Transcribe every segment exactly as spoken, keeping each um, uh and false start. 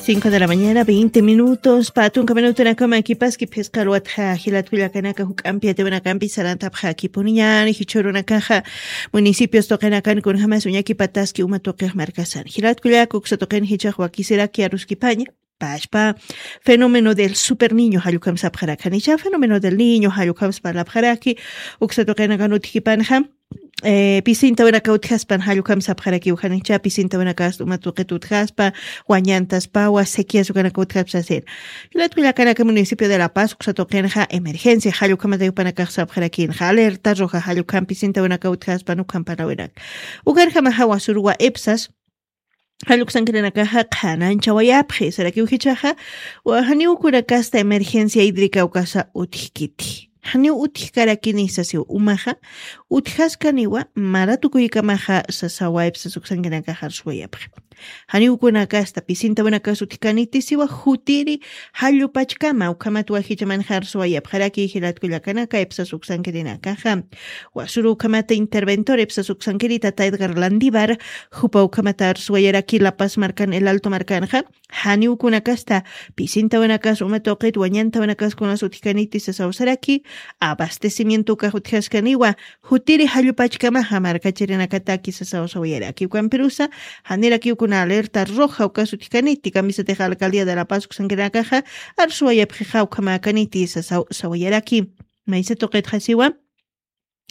Cinco de la mañana, veinte minutos. Patunka minutunakama kipaski phisqa ruwatxa jilatkullakanaka juk'ampi yatiwanakampi sarantapxakipuniñan jichhurunakaxa municipios tuqinakan kunjamas uñakipataski uma tuqix markasan. Jilatkullaka uksa tuqin jichhax wakisiraki aruskipaña. Pashpa fenómeno del super niño jallukam sapxarakanicha fenómeno del niño jallukam spalapxaraki uksa tuqinakan utjipanxa. Pisintawinaka utjaspan jallukam sapxarakiw janicha pisintawinakasta uma tuqit utjaspa wañantaspawa sequias ukanaka utjaspa sasir. Jilatkullakanaka municipio de la paz uksa tuqinxa emergencia jallukamatayupanakax sapxarakinxa alerta roja jallukam pisintawinaka utjaspan ukampanawinaka ukarjamaxa wasuruwa epsas. Jalluksankirinakaxa qhananchawayapxi sarakiw jichaxa janiwkunakasta emergencia hídrica ukasa utjkiti. Janiw utjkarakini sasiw umaxa utjaskaniwa maratukuykamaxa sasawa epsas uksankinakaxa arsuwayapxi. Janiwkunakasta pisintawinakas utjkaniti siwa jutiri jallupachkama ukhamat wajichamanxa arsuwayapxaraki jilatkullakanaka epsas uksankirinakaxa. Wasuru ukhamata interventor epsas uksankirita taydgar landivar jupa ukhamata arsuwayaraki lapas markan el alto markanxa. Janiwkunakasta pisintawinakas uma tuqit wañantawinakas kunas utjkaniti sasawsaraki abastecimiento ukax utjaskaniwa. Jutiri jallupachkamaxa markachirinakataki sasawsawayaraki ukampirusa janirakiwkuna alerta roja ukas utjkaniti kamisatix alcaldía de la paz uksankirinakaxa arsuwayapxixa ukhamakaniti sasawsawayaraki. Maysa tuqitxasiwa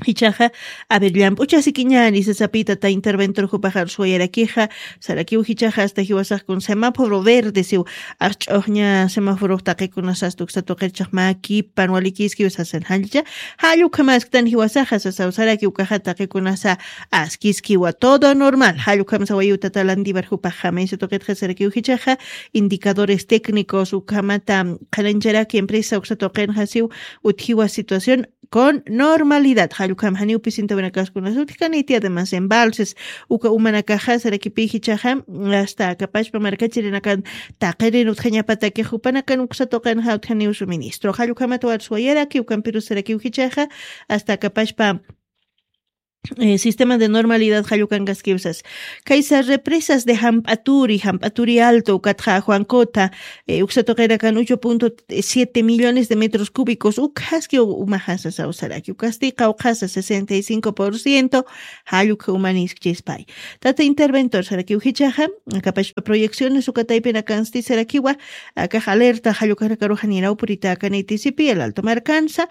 jichaxa aver llamp'uchasikiñani sasapita ta interventor jupaxa arsuwayarakixa. Sarakiw jichaxa asta jiwasaxkun semáforo verde siw asch'uxña semáforox taqikunasasta uksa tuqirchax makipan walikiskiw sasan jallcha. Jallukamasktan jiwasaxa sasaw saraki ukaxa taqikunasa askiskiwa todo normal jallukam sawayuta talandivar jupaxa maysa tuqitxa sarakiw jichaxa. Indicadores técnicos ukhamata qhanancharaki empresa uksa tuqinxasiw utjiwa situación con normalidad jallukam janiw pisintawinakaskunas utjkaniti además embalses uka umanakaxa sarakipi jichaxa asta akapachpa markachirinakan taqirin utjañapatakix jupanakan uksa tuqinxa utjaniw suministro jallukhamat warsuwayaraki ukampirus sarakiw jichaxa asta akapachpa sistema de normalidad jallukankaskiwsas. Kaysa represas de jamp'aturi jamp'aturi alto ukatxa juancota uksa tuqirakan ocho punto siete millones de metros cúbicos ukhaski umaxasa sawsaraki ukasti qawqhasa sesenta y cinco por ciento. Jallukha umaniskchispay tata interventor sarakiw jichaxa. Akapashpa proyecciones ukataypinakansti sarakiwa akax alerta jallukhanakaruxaniraw puritakanitisipi el alto markansa.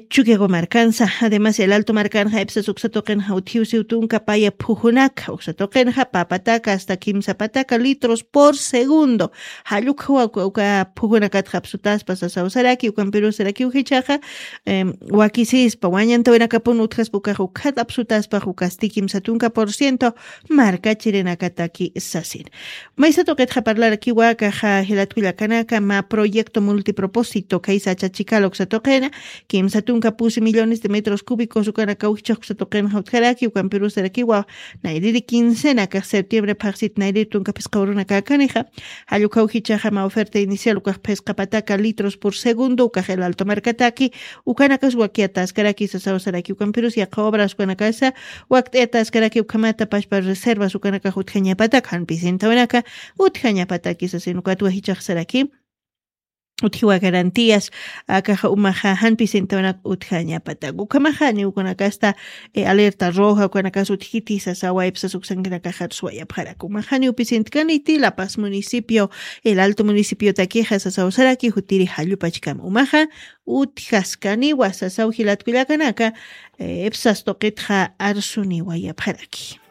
Chukiago markansa además el alto markanxa epsas uksa tuqinxa utjiw siw tunka paya phujunaka uksa tuqinxa papataka asta kimsa pataka litros por segundo. Jallukhawa uka phujunakatxa apsutaspa sasaw saraki ukampirus sarakiw jichaxa. Wakisispa wañantawinakapun utjaspa ukaxa ukhata apsutaspa ukasti kimsa tunka por ciento. Markachirinakataki sasin maysa tuqitxa parlarakiwa kaxa jilatkullakanaka mä proyecto multipropósito kaysa achachikala uksa tuqina kimsa tunka pusi millones de metros cúbicos ukanakaw jichhax uksa tuqinxa utjaraki ukampirusarakiwa. Nayriri quincena kax septiembre phaqsit nayriri tunka phisqawrunakakanixa. Jallukhaw jichhaxa mä oferta inicial ukax phisqapataka litros por segundo ukax el alto markataki ukanakas wakiataskaraki sasaw saraki ukampirus yaqha obras ukanakasa wakt'ayataskaraki ukhamata pashpa reservas ukanakax utjañapatak jan pisintawinaka utjañapatakisa sinukatwa jichaxsaraki. Utjiwa garantías akaxa umaxa jan pisintawinaka utjañapatak ukhamaxa niwkunakasta alerta roja ukanakas utjkiti sasawa epsas uksankinakaxarusuwayapxarak umaxa niw pisintkaniti lapas municipio el alto municipiotakixa sasaw saraki jutiri jallupachkama umaxa. Utjaskaniwa sasaw jilatkullakanaka epsas tuqitxa arsuniwayapxaraki.